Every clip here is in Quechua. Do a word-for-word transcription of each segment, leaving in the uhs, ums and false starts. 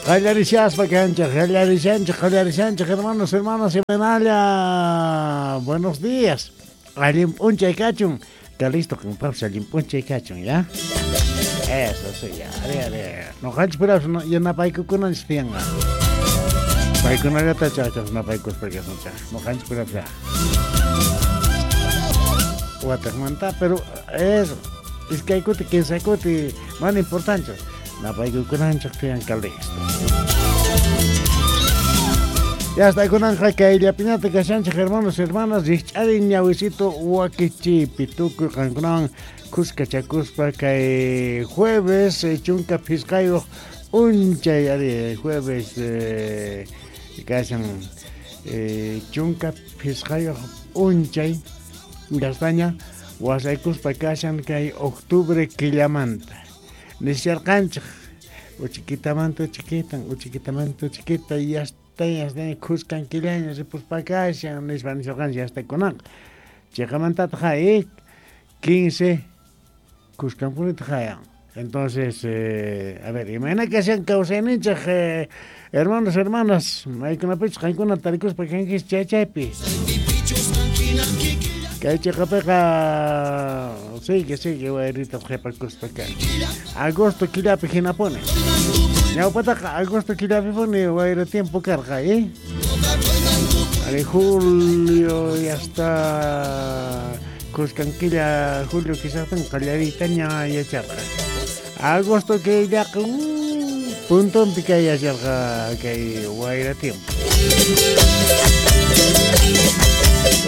Qallarishaspa kanchik, qallarishanchik, qallarishanchik, hermanos, hermanas, imanalla. Buenos días. Allin p'unchay kachun. Calisto qanpapis allin p'unchay kachun, ya? Eso sí, ya. Ari, ari. Noqanchik purapas yanapaykukunanchik tiyanqa. Paykunallata chachas napaykuspa kasunchik. Noqanchik purapas ya. Wataqmanta, pero eso. Iskay kuti, kinsa kuti, mana importante. Napaykukunanchik tiyan Calisto. Ya está kunanqa kayllapiñata kashanchik, hermanos, hermanas, rikch'ari ñawisito wakichipi tukuy qankunawan kuskachakuspa kay jueves chunka phisqayuq unchay ari jueves eh, kashan eh, chunka phisqayuq unchay gastaña wasaykuspa kashan kay octubre killamanta nisharqanchik uchikitamanta uchikitan uchikitamanta uchikita yasta yasta kuskan killaña ripuspa kashan nispa nisharqanchik yasta kunanqa chiqamantataq eh, quince kuskanpunitaq hayan. Entonces, eh, a ver, imayna kashan kawsayninchik eh, hermanos, hermanas, maykunapichus qankuna tarikuspa kankichis chay chaypi. Kay chiqapiqa sigue, sigue wayrita qhipakuspa kan. Agosto killapi hinapuni. Ñawpataqa agosto killapipuni wayra tiempo karqa, eh? Ari julio y hasta kuskan killa julio quizás qallariytaña yacharqa. Agosto killaqa uh, puntonpi kay yacharqa kay wayra tiempo.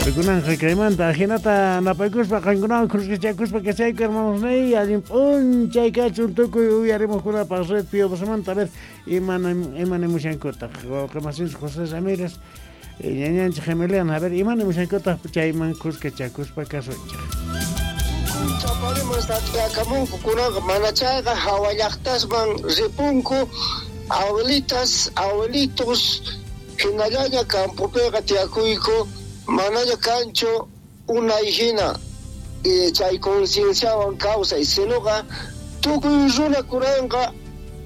Kunanqa kaymanta hinata napaykuspa qankunawan kruskachakuspa kachayku hermanos nay allin p'unchay kachun tukuy uyarimuqkunapaq red Piovosamanta a ver imana imanimushankutaq wawqimasinchik José Ramírez ñañanchik Emiliano a ver imanimushankutaq chayman kuskachakuspa kasunchik. Chapariman tatiyakamunku kunanqa mana chayqa hawa llaqtasman ripunku abuelitas abuelitos hinallaña campopiqa tiyakuyku manaña kanchu unay hina eh, chay concienciawan kawsay sinuqa tukuy runakunanqa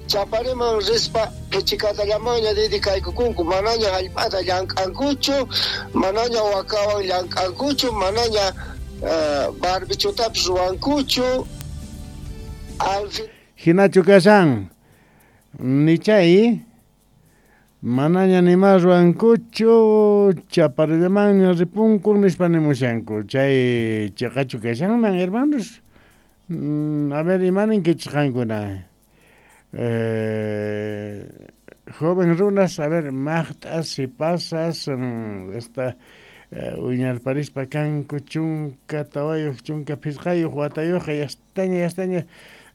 chapariman rispa qichikatallamaña dedicaykukunku manaña hallp'ata llank'ankuchu manaña wakawan llank'ankuchu manaña uh, barbichutapis ruwankuchu al fin hinachu kashan nichay manaña nima ruwankuchu chaparillamanña ripunku nispa nimushanku chay chiqachu kashanman hermanos. Mm, a ver imaninkichik qankuna eh, joven runas a ver maqt'as sipasas mm, esta eh, uñarparispa kanku chunka tawayuq chunka phisqayuq watayuqqa yastaña yastaña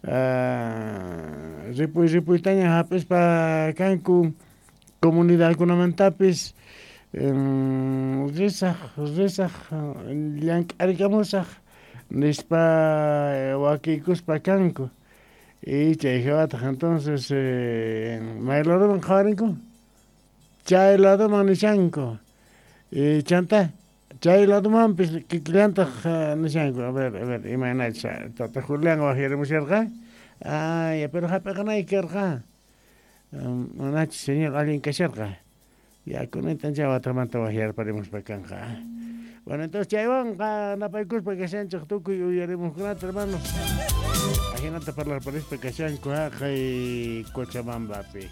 uh, ripuy ripuytaña hap'ispa kanku comunidadkunamantapis um, risaq risaq llank'arikamusaq nispa wakiykuspa kanku y chay hawataq entonces eh, may ladoman qhawarinku chay ladoman nishanku y chanta chay ladomanpis kikillantaq nishanku a ver a ver imaynachus tata Julián waqyarimusharqa ay pero hap'iqanayki karqa manachu señor allin kasharqa ya kunantan chay watamanta waqyarparimuspa kanqa. Bueno, entonces chaywanqa napaykuspa kashanchik tukuy uyarimuqkunata hermanos ajinata parlarparispa kashanku haqay Cochabambapi.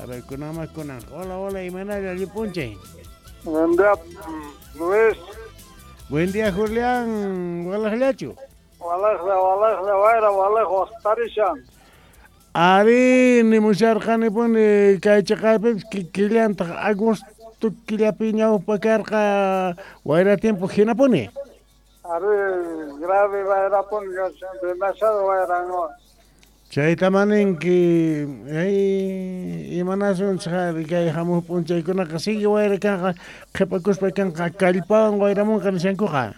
A ver, kunanma kunan. Hola, hola, imanalla allin p'unchay. Buen día, Luis. Buen día, Julián. Walaqllachu. Walaqla, walaqla, wayra, walaq waqtarishan. Ari, nimusharqanipuni kay chiqapipis killantaq agosto killapi ñawpa karqa wayra tiempo hinapuni. Ari, grave wayrapuni demasiado wayran. Chayta maninki ay imanasunchik ari kay hamuq p'unchaykunaqa sigue wayra kanqa qhipakuspa kanqa kallpawan wayramunqa nishankuqa.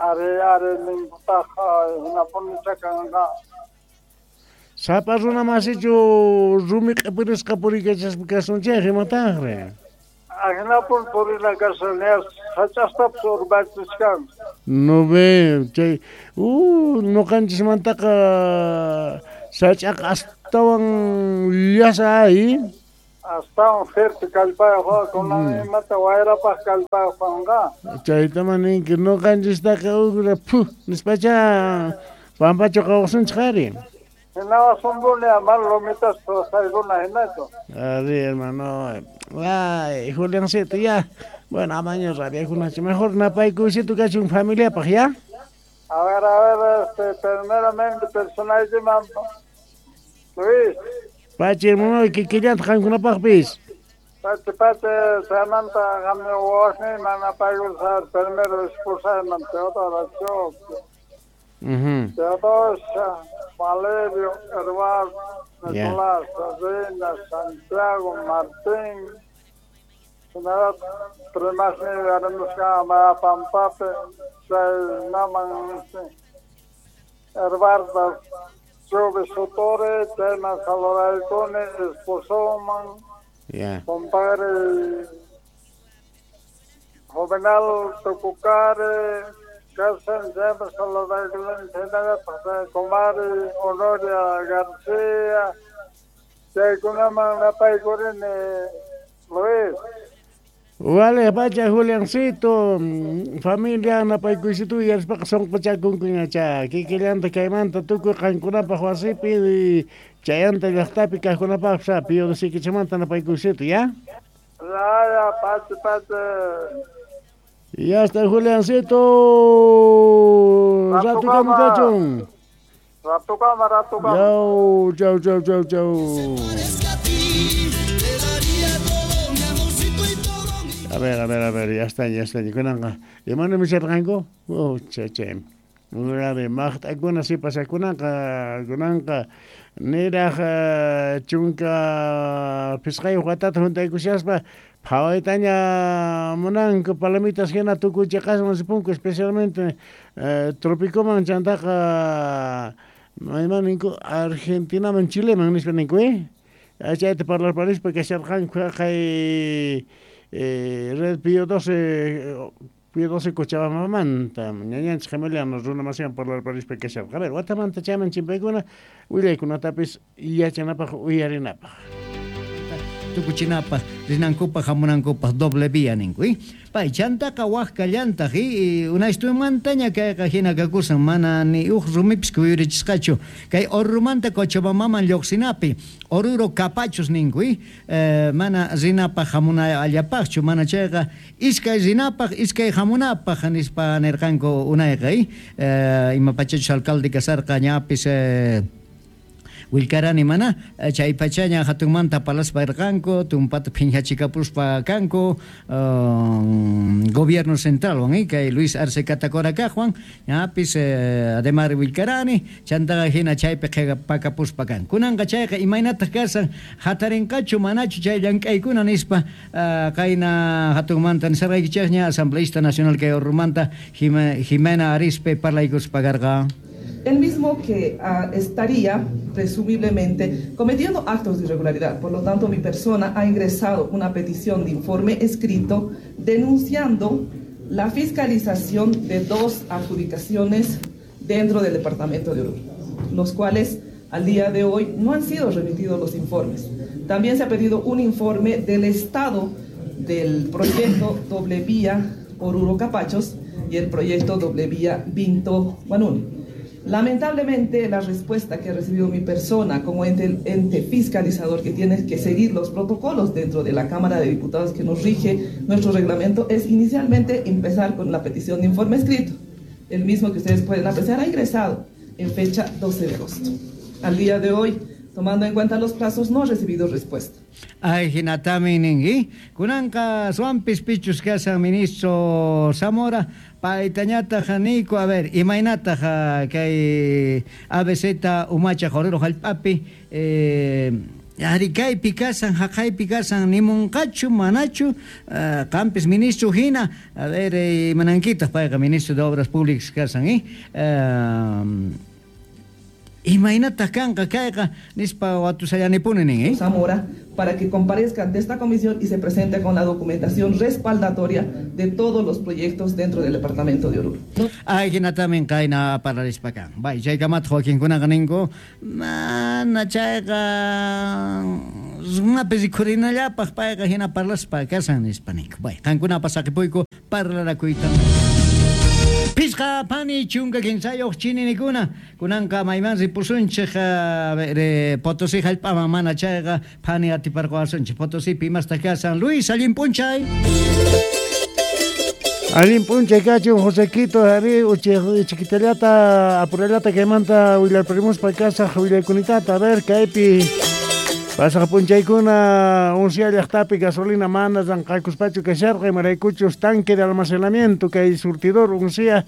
Ari, ari ninkutaq hinapuni chakanqa. Sapa runa masichu rumi q'ipirisqa puriykachaspa kasunchik imataqri. Ajinapun purina kashan sach'astapis urmachiskan. No ve chay uh nuqanchismantaqa sach'aqa astawan llasa ay. Astawan fuerte kallpayuq kunan imata wayrapaq kallpayuq kanqa. Chaytaman ninki ñuqanchistaqa ugra phu nispacha pampachu qawsunchik ari. Hinawasunpuni amar lomitas saykuna hinachu. Ari hermano. Ay, Juliancito ya. Bueno, amaño rabiakunachu. Mejor napaykuysito kachun familiapaq ya. A ver, a ver, este, primeramente personalmente, Luis. Pachi, hermano, kikillanta qankunapaqpis. Pachi, pachi, chaymanta qammi wawasniyman napaykusaq primero esposayman Teodora Choque. Uh-huh. Teodosia, Valerio, Eduardo, Nicolás, Sabina, Santiago, Martín. Hinallataq primasniy arimusqa Pampapi, chay naman Eduardo Chube Sotore, chayman saludaykuni esposoman, yeah. Compadre Juvenal Tucucare, Casen, chayman saludaykuni, hinallataq comadre Honoria García, chaykunaman napaykurini Luis. Vale, pacha Juliancito, familia napaykuysito yarispaqa sunquchakunkuñacha kikillanta kaymanta tukuy qankunapaq wasipi chayanta llaqtapi kaqkunapaqpas Pío Doce napaykuysito, ¿ya? Ya, ya, pachi, pachi. Ya está Juliancito. Ratukama kachun. Ratukama, ratukama. Chau, chau, chau, chau, chau. A ver, a ver, a ver, ya está, ya está. Kunanqa, imana misharqanku? Oh, che, che. Grave, maqt'akuna sipasakunaqa, kunanqa niraq chunka phisqayuq watata juntaykushaspa phawaytaña munanku palomitas hina tukuy chiqasman ripunku, especialmente eh, Trópicoman chantaqa mayman ninku Argentinaman Chileman nispa ninku, eh? Chayta parlarparispa kasharqanku haqay Eh, Red Pío doce, Pío doce Cochabambamanta, ñañanchik Gemeliano runa masiwan parlarparispa kasharqa. A ver, watamanta chayman chimpaykuna willaykunatapis yachanapaq uyarinapaq. Tukuchinapaq rinankupaq hamunankupaq doble vía ninku, ¿eh? Pay chantaqa waq kallantaq, ¿eh? Unaystumantaña kayqa hina kakusan mana ni uj rumipis kuyurichisqachu kay Orurumanta Cochabambaman lluqsinapi Oruro Capachos ninku, ¿eh? Eh, mana rinapaq hamunallapaqchu mana chayqa iskay rinapaq iskay hamunapaq nispa nirqanku unayqa, ¿eh? Eh, imapachachus alcalde kasarqa ñapis eh, Wilkarani mana chay pachaña hatunmanta palaspa irqanku tumpata phiñachikapuspa kanku um, gobierno central wan, eh, kay Luis Arce Catacora kaqwan ñapis eh, ademar Wilkarani chantaqa hina chaypi qhipakapuspa kan kunanqa chayqa imaynataq kasan hatarinqachu manachu chay llank'aykuna nispa uh, qayna hatunmanta nisarqaykichikña asambleísta nacional kay Orurumanta Jimena Arispe parlaykuspa karqa. El mismo que uh, estaría presumiblemente cometiendo actos de irregularidad. Por lo tanto, mi persona ha ingresado una petición de informe escrito denunciando la fiscalización de dos adjudicaciones dentro del departamento de Oruro, los cuales al día de hoy no han sido remitidos los informes. También se ha pedido un informe del estado del proyecto doble vía Oruro Capachos y el proyecto doble vía Vinto Huanuni. Lamentablemente, la respuesta que ha recibido mi persona como ente, ente fiscalizador que tiene que seguir los protocolos dentro de la Cámara de Diputados que nos rige nuestro reglamento es inicialmente empezar con la petición de informe escrito, el mismo que ustedes pueden apreciar ha ingresado en fecha doce de agosto. Al día de hoy, tomando en cuenta los plazos, no ha recibido respuesta. Ay, hinatami ningi. Kunanqa suampis pichus kasan ministro Zamora, paytañataq niyku, a ver, imaynataq kay A B C umacha Oruro hallp'api, eh, ari kaypi kasan, haqaypi kasan, nimunqachu, manachu, uh, qampis ministro hina, a ver, eh, imanankitaq payqa ministro de Obras Públicas kasan, eh? Uh, Imaynataq kanqa kayqa nispa watusallanipuni nin, eh? Zamora, para que comparezca ante esta comisión y se presente con la documentación respaldatoria de todos los proyectos dentro del departamento de Oruro. Ay, hinatamin kayna parlarispa kan. Bay, chaykamata wakinkunaqa ninku, mana chayqa Runapi rikhurinallapaq payqa hina parlaspa kasan nispa ninku. Bay, qankunapas saqipuyku parlarakuyta. Pisqa pani chunka kinsayuq chininikuna kunanqa mayman ripusunchik Potosí hallp'aman mana chayqa phani atiparquwasunchik Potosípi imastaq kasan. Luis, allin p'unchay. Allin p'unchay kachun Josequito, ari chiquitallata apurallata kaymanta willarparimuspa kasaq willaykunitata. A ver, kaypi pasaq p'unchaykuna uncia llaqtapi gasolina mana ranqakuspachu kasharqa imaraykuchus tanque de almacenamiento kay surtidor uncia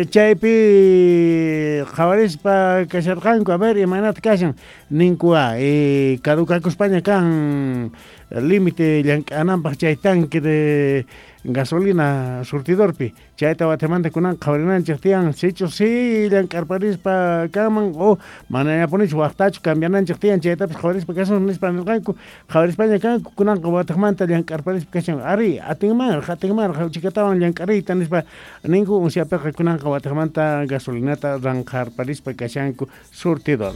chaypi qhawarispa kasharqanku. A ver, imaynata kashan ninkua eh, caducakuspaña kan límite llank'ananpaq chay tanque de gasolina surtidorpi chayta watamanta kunan qhawarinanchik tiyan sichus si llank'arparispa kanman o manañapunichu waqtachu cambiananchik tiyan chaytapis qhawarispa kasun nispa nirqanku qhawarispaña kanku kunanqa wataqmanta llank'arparispa kashan ari atinmanraq atinmanraq chikatawan llank'ariyta nispa ninku unciapiqa kunanqa wataqmanta gasolinata ranqarparispa kashanku surtidor.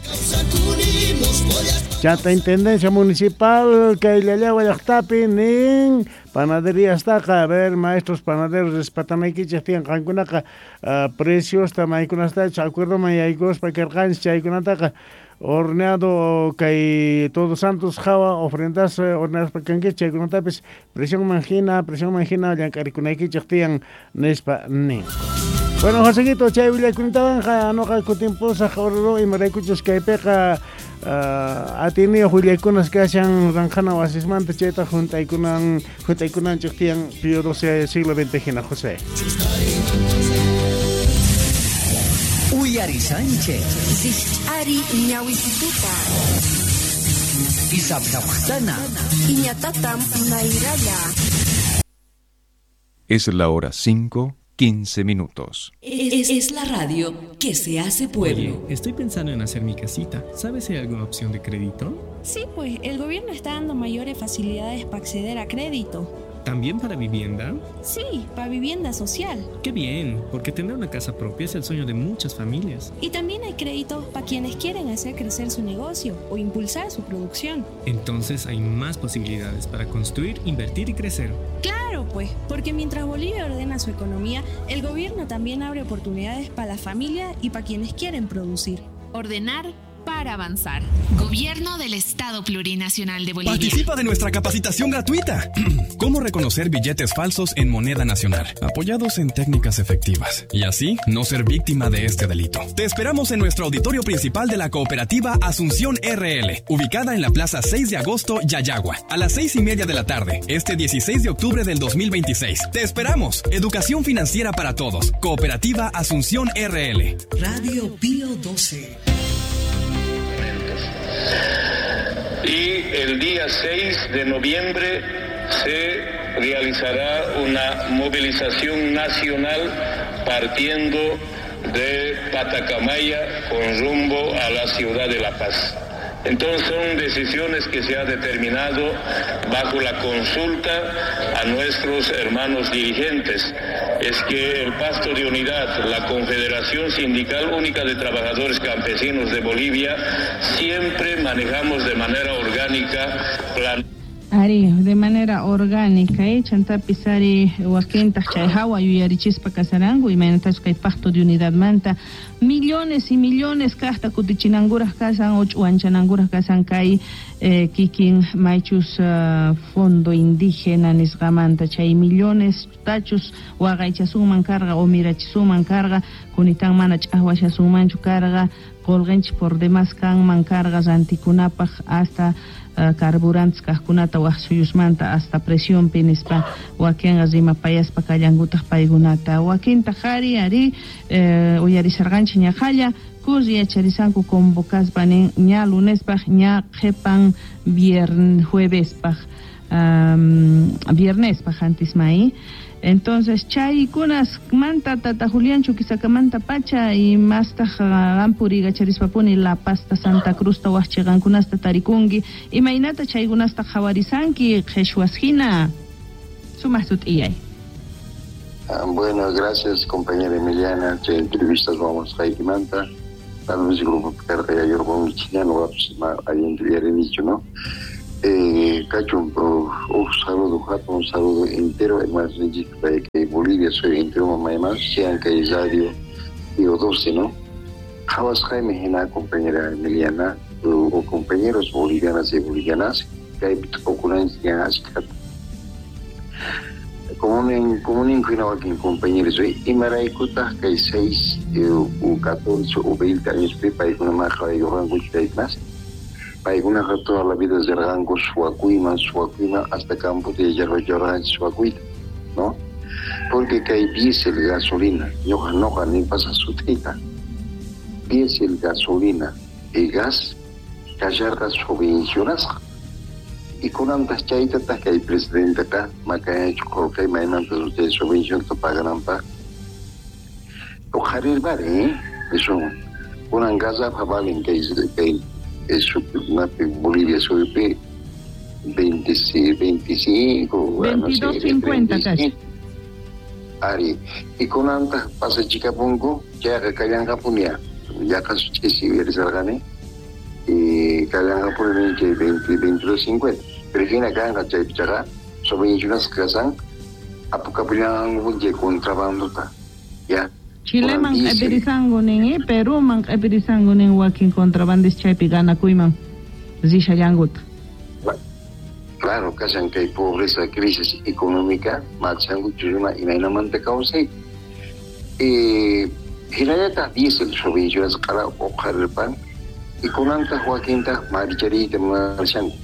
Chata Intendencia Municipal kay Llallagua llaqtapi nin panaderiastaqa, a ver, maestros panaderos respatanaykichik tiyan qankunaqa uh, preciosta maykunastachu acuerdoman yaykuspa karqanchik chaykunataqa horneado kay Todos Santos hawa ofrendas horneaspa kankichik chaykunatapis presionman hina presionman hina llank'arikunaykichik tiyan nispa nin. Bueno, Josequito, chay willakunitawanqa nuqa kutimpusaq Oruro imaraykuchus kaypiqa uh, atiniyuq willaykunas kashan ranqhana wasismanta chayta juntaykunan juntaykunanchik tiyan Pío doce siglo veinte hina, José. Uyari Sánchez. Ari ñawisituta. Isabdawtana. Iñatatam nairaya. Es la hora cinco. quince minutos. Es, es la radio que se hace pueblo. Oye, estoy pensando en hacer mi casita. ¿Sabes si hay alguna opción de crédito? Sí, pues el gobierno está dando mayores facilidades para acceder a crédito. ¿También para vivienda? Sí, para vivienda social. Qué bien, porque tener una casa propia es el sueño de muchas familias. Y también hay créditos para quienes quieren hacer crecer su negocio o impulsar su producción. Entonces hay más posibilidades para construir, invertir y crecer. Claro, pues, porque mientras Bolivia ordena su economía, el gobierno también abre oportunidades para la familia y para quienes quieren producir. Ordenar para avanzar. Gobierno del Estado Plurinacional de Bolivia. Participa de nuestra capacitación gratuita. ¿Cómo reconocer billetes falsos en moneda nacional? Apoyados en técnicas efectivas. Y así, no ser víctima de este delito. Te esperamos en nuestro auditorio principal de la cooperativa Asunción R L, ubicada en la Plaza seis de Agosto, Llallagua, a las seis y media de la tarde, este dieciséis de octubre del dos mil veintiséis. Te esperamos. Educación financiera para todos. Cooperativa Asunción R L. Radio Pío doce. Y el día seis de noviembre se realizará una movilización nacional partiendo de Patacamaya con rumbo a la ciudad de La Paz. Entonces son decisiones que se ha determinado bajo la consulta a nuestros hermanos dirigentes. Es que el Pacto de Unidad, la Confederación Sindical Única de Trabajadores Campesinos de Bolivia, siempre manejamos de manera orgánica plan. Ari, de manera orgánica, eh, chantapis ari wakintaq chay hawa yuyarichispa kasaranku imaynatachus kay Pacto de Unidad manta millones y millones kaqta kutichinankuraq kasan o ch'uwanchanankuraq kasan kay eh, kikin maychus uh, fondo indígena nisqamanta chay millones tachus waqaychasunman karqa o mirachisunman karqa kunitan mana ch'aqwashasunmanchu karqa qulqinchik por demás kanman karqa rantikunapaq hasta Uh, carburantes kaqkunata waq suyusmanta hasta presionpi nispa wakinqa rimapayaspa kallankutaq paykunata wakintaq ari ari eh, uyarisarqanchik ñaqalla kurri yacharisanku convocaspa nin ña lunespaq ña qhipan viernes juevespaq um, viernespaq antis may. Entonces chaykunas manta tata Julián Chuquisakamanta pacha y mastaq qampuri gacharispapuni La Paz ta Santa Cruz ta waqchiqankunasta tarikunki imaynata chaykunasta qhawarisanki qhichwas hina sumaq sut'iyay. Ah, bueno, gracias compañera Emiliana, chay entrevistas vamos qaykimanta tal vez grupo karqa yayurqunkichikña nuqapis allinta uyarinichu, ¿no? Eh, kachun, un saludo, un saludo entero, hermanos que Bolivia soy entero, mamá y más, sean que radio Pío doce, ¿no? Jawas Jaime, jena, compañera Emiliana, o compañeros bolivianas y bolivianas, que hay ocurrencias, como un como un compañeros, y maraicuta que seis o catorce o veinte años, paikuna maja y más. Paykunaqa toda la vida rirqanku suwakuyman, suwakuyman hasta campo de yarra suwakuyta, ¿no? Porque kay diésel, gasolina, ñuqa noqa ni pasa sutita. Diésel, gasolina y gas kasharqa subvencionasqa. Y kunantas chaytataq kay presidenteka makañachu qullqi maymanta chay subvencionta pagananpaq. Uqharirpari, ¿eh? Eso, kunan gasafa valen kay kay Bolivia sube veinticinco, veintidós cincuenta casi. Ari, y con antas pasa Chicapungo, ya Callangapunia, ya casi si eres argane, y Callangapunia veintidós cincuenta. Pero aquí acá en Chaypichaga, sobre unas casas, apucapulian de contrabando, ya. Chileman q'ipirisanku nin, eh? Peruman q'ipirisanku nin wakin contrabandis chaypi ganakuyman rishallankuta. Claro, kashan kay pobreza, crisis económica, machanku churuna imaynamanta kawsay. Eh, hinallataq diésel subvencionasqara uqharirpan y kunantaq wakintaq marchariyta munashanku.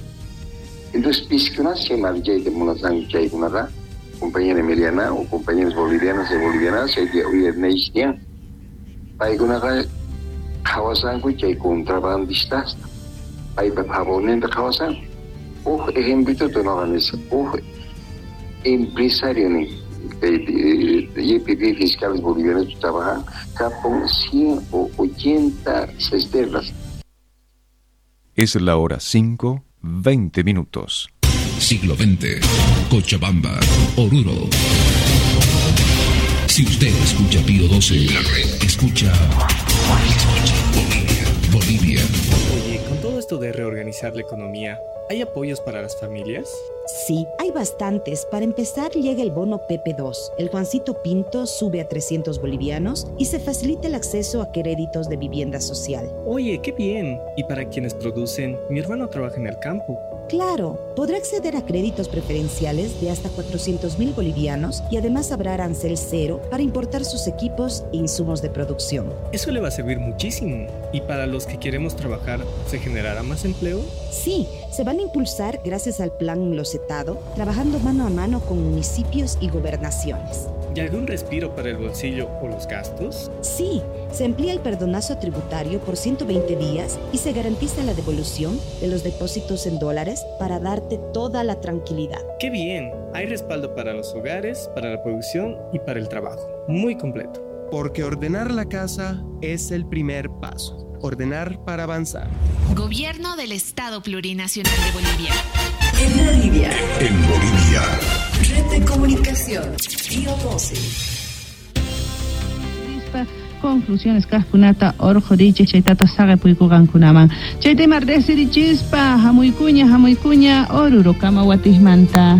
Entonces, piskunas chay marchayta munasanku chaykunaqa. Compañera Emiliana o compañeros bolivianos y bolivianas, chay uyarnaystian. Paykunaqa qhawasanku chay contrabandistas. Paypa favorninta qhawasanku. Uj ejemplito noqa nisqa, uj empresario nin, Y P P fiscales bolivianos trabajan capon ciento ochenta cisternas. Es la hora cinco, veinte minutos. Siglo veinte, Cochabamba, Oruro. Si usted escucha Pío doce, la red escucha, escucha Bolivia, Bolivia. Oye, con todo esto de reorganizar la economía, ¿hay apoyos para las familias? Sí, hay bastantes. Para empezar, llega el bono P P dos. El Juancito Pinto sube a trescientos bolivianos y se facilita el acceso a créditos de vivienda social. Oye, qué bien. ¿Y para quienes producen? Mi hermano trabaja en el campo. Claro, podrá acceder a créditos preferenciales de hasta cuatrocientos mil bolivianos y además habrá arancel cero para importar sus equipos e insumos de producción. Eso le va a servir muchísimo. ¿Y para los que queremos trabajar, se generará más empleo? Sí, se van a impulsar gracias al plan Losetado, trabajando mano a mano con municipios y gobernaciones. ¿Y algún respiro para el bolsillo o los gastos? Sí, se amplía el perdonazo tributario por ciento veinte días y se garantiza la devolución de los depósitos en dólares para darte toda la tranquilidad. ¡Qué bien! Hay respaldo para los hogares, para la producción y para el trabajo. Muy completo. Porque ordenar la casa es el primer paso. Ordenar para avanzar. Gobierno del Estado Plurinacional de Bolivia. En Bolivia. En Bolivia. Red de Comunicación. Pío doce. Conclusiones kaqkunata urqurichik chaytata saqipuykuqankunaman. Chay tema riqsirichispa hamuykuña hamuykuña Oruro kamawatijmanta.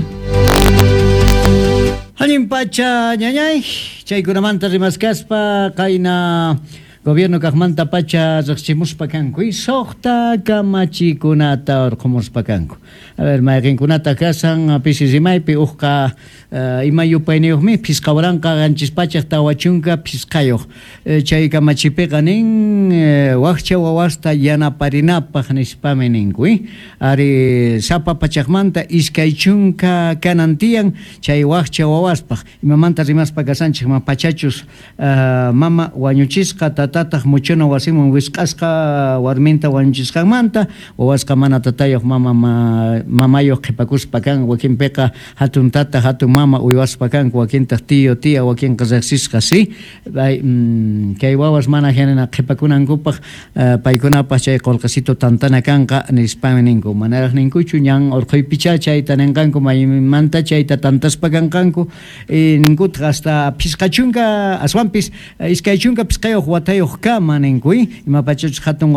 Allin pacha ñañay chaykunamanta rimaskaspa qayna gobierno kaqmanta pacha riqsimuspa kanku y suqta kamachikunata urqumuspa kanku. A ver, mayqinkunata kasan pisi rimaypi uqqa uh, ima yupayniyuqmi phisqa waranqa qanchis pachaq tawa chunka phisqayuq. E, chay kamachipiqa nin e, waqcha wawasta yanaparinapaq nispami ninku. Eh? Ari sapa pachaqmanta iskay chunka kanan tiyan chay waqcha wawaspaq. Imamanta rimaspa kasanchik ma pachachus uh, mama wañuchisqa tatataq muchuna wasiman wisq'asqa warminta wañuchisqanmanta wawasqa mana tatayuq mama ma, mamayuq qhipakuspa kan wakinpiqa hatun tata hatun mama uywaspa kanku wakintaq tío tía wakinqa riqsisqa si mm, kay wawas mana hinana qhipakunankupaq uh, paykunapaq chay qullqisito tantana kanqa nispami ninku manaraq ninkuchu ñan urquypicha chayta ninqanku maymanta chayta tantaspa kanqanku e, ninkutaq hasta phisqa chunka aswanpis iskay chunka phisqayuq watayuq watayuq kama ninku, imapachachus hatun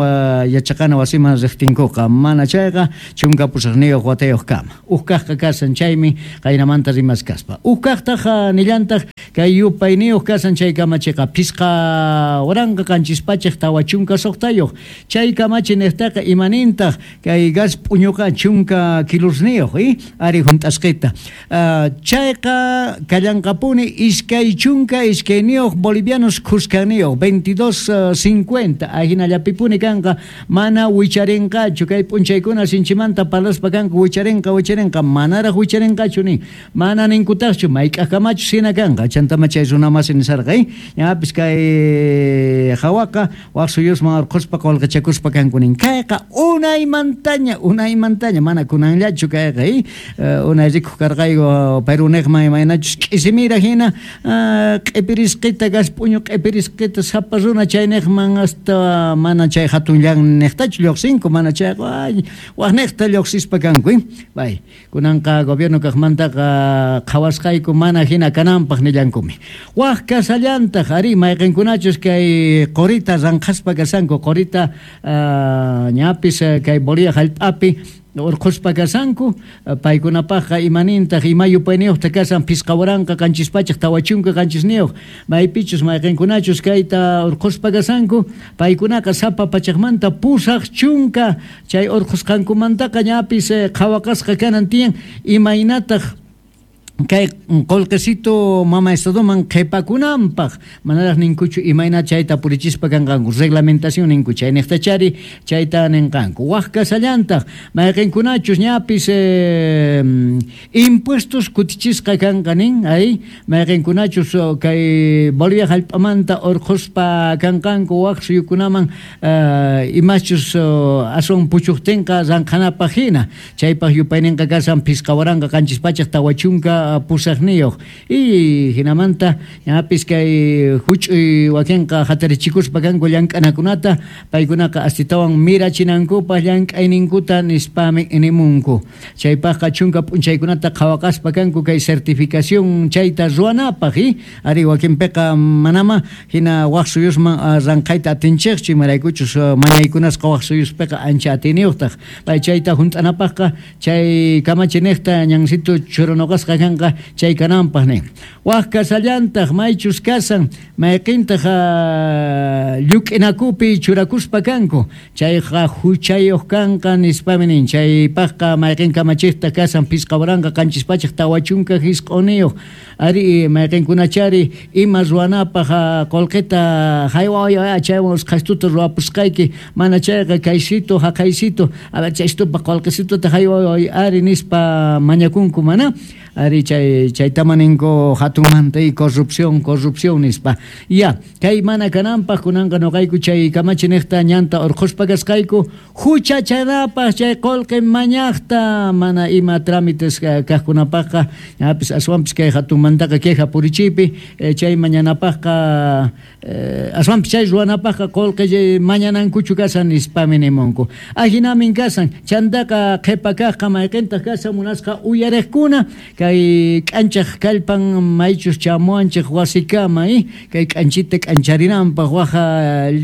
yachaqana wasiman riqtinkuqa, mana chayqa chunka pusaqniyuq watayuq kama. Uj kaqqa kasan chaymi qaynamanta rimaskaspa. Uj kaqtaq nillantaq kay yupayniyuq kasan chay kamachiqa phisqa waranqa qanchis pachaq tawa chunka suqtayuq. Chay kamachi niqtaqa imanintaq kay gas p'uñuqa chunka kilosniyuq, eh? Ari junt'asqita. Uh, chayqa kallanqapuni iskay chunka iskayniyuq bolivianos khuskaniyuq veintidós cincuenta ajinallapipuni kanqa, mana wicharinqachu kay p'unchaykuna sinchimanta parlaspa kanku wicharinqa wicharinqa manaraq wicharinqachu nin, mana ninkutaqchu mayk'aqkamachus hina kanqa. Chantama chay runamasi nisarqa, eh? Ñapis kay hawaqa waq suyusman urqhuspa qullqichakuspa kanku nin. Kayqa unaymantaña unaymantaña mana kunanllachu kayqa, eh? Uh, unay rikuq karqayku Peruniqman imaynachus k'isimira hina uh, q'ipirisqita gas p'uñu q'ipirisqita sapa runa chayniqman hasta mana chay hatunllan niqtachu lluqsinku, mana chayqa ay waqniqta lluqsispa kanku, eh? Bay kunanqa gobierno kaqmantaqa qhawasqayku mana hina kananpaq nillankumi. Waq kasallantaq ari mayqinkunachus kay qurita ranqhaspa kasanku, qurita uh, ñapis kay Bolivia hallp'api urqhuspa kasanku, paykunapaqqa imanintaq ima yupayniyuqta kasan phisqa waranqa qanchis pachaq tawa chunka qanchisniyuq, maypichus mayqinkunachus kayta urqhuspa kasanku paykunaqa sapa pachaqmanta pusaq chunka chay urqhusqankumantaqa ñapis qhawaqasqa kanan tiyan imaynataq kay qullqisito mama estadoman qhipakunanpaq, manaraq ninkuchu imayna chayta purichispa kanqanku, reglamentación ninku chay niqtachari chayta ninqanku. Waq kasallantaq mayqinkunachus ñapis eh, impuestos kutichisqa kanqa nin, ay mayqinkunachus kay Bolivia hallp'amanta urqhuspa kanqanku waq suyukunaman eh, imachus aswan puchuqtinqa ranqhanapaq hina, chaypaq yupayninqa kasan phisqa waranqa qanchis pachaq tawa chunka pusaqniyuq. Y hinamanta ñapis kay huch'uy wakinqa hatarichikuspa kanku llank'anakunata, paykunaqa astitawan mirachinankupaq llank'ayninkuta nispami nimunku. Chaypaqqa chunka p'unchaykunata qhawaqaspa kanku kay certificación chayta ruwanapaq, eh? Ari wakinpiqa manama hina waq suyusman ranqhayta atinchikchu, imaraykuchus mañaykunasqa waq suyuspiqa ancha atiniyuqtaq. Pay chayta hunt'anapaqqa chay kamachiniqta ñansito churunuqasqa kanqa chay kananpaq nin. Waq kasallantaq maychus kasan mayqintaq lluk'inakupi churakuspa kanku chayqa huchayuq kanqa nispami nin. Chaypaqqa mayqin kamachiqta kasan phisqa waranqa qanchis pachaq tawa chunka hisq'uniyuq. Ari mayqinkunachari ima ruwanapaq qullqita hayway chaywan usqhaystuta ruwapusqayki, mana chayqa kaysito haqaysito a ver chaystupa qullqisituta hayway ari nispa mañakunku mana. Ari chay chaytama ninku hatunmanta y corrupción corrupción nispa. Ya kay mana kananpaq kunanqa nuqayku chay kamachiniqta ñanta urqhuspa kasqayku huchachanapaq chay qullqi mañaqta mana ima trámites kaqkunapaqqa ñapis aswanpis kay hatunmantaqa queja purichiypi chay mañanapaqqa aswanpis chay ruwanapaqqa qullqi mañanankuchu kasan nispami nimunku. Ajinamin kasan chantaqa qhipa kaqqa mayqintaq kasan munasqa uyariqkuna kay k'anchaq kallpan maychus chamuanchik wasikama, eh? Kay k'anchita k'ancharinanpaq waja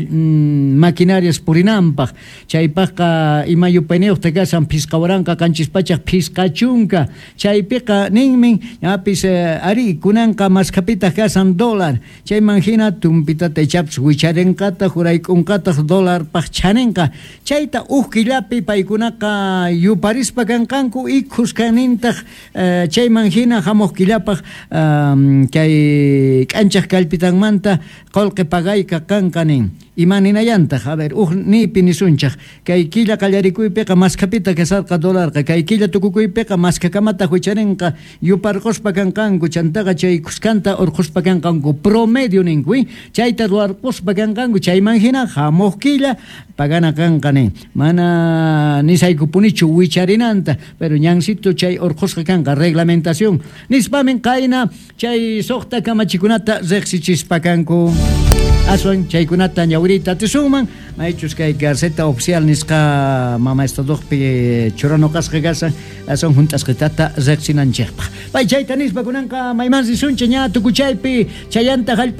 maquinarias purinanpaq chaypaqqa ima yupayniyuqta kasan phisqa waranqa qanchis pachaq phisqa chunka. Chaypiqa ninmin ñapis ari kunanqa maskhapitaq kasan dólar, chayman hina tumpitata ichapis wicharinqataq hurayk'unqataq dólarpaq chaninqa, chayta uj killapi paykunaqa yuparispa kanqanku y khuskanintaq eh, chayman hina hamuq killapaq um, kay k'anchaq kallpitanmanta qullqi pagayqa kanqa nin. Imaninayantaq, a ver, uj nipi nisunchaq kay killa qallarikuypiqa maskhapita kasarqa dólarqa, kay killa tukukuypiqa maskhakamataq wicharinqa yuparquspa kanqanku, chantaqa chay kuskanta urquspa kanqanku promedio ninku, eh? Chayta ruwarquspa kanqanku chayman hina hamuq killa pagana kanqa nin. Mana nisaykupunichu wicharinanta, pero ñansito chay urqusqa kanqa reglamentación nispamin qayna chay suqta kamachikunata riqsichispa kanku. Aswan chaykunata ñawirita atisunman maychus kay Gaceta Oficial nisqa mama estadoqpi churanuqasqa kasan aswan hunt'asqitata riqsinanchikpaq. Pay chayta nispa kunanqa mayman risunchik ña tukuchaypi chayanta hallp'a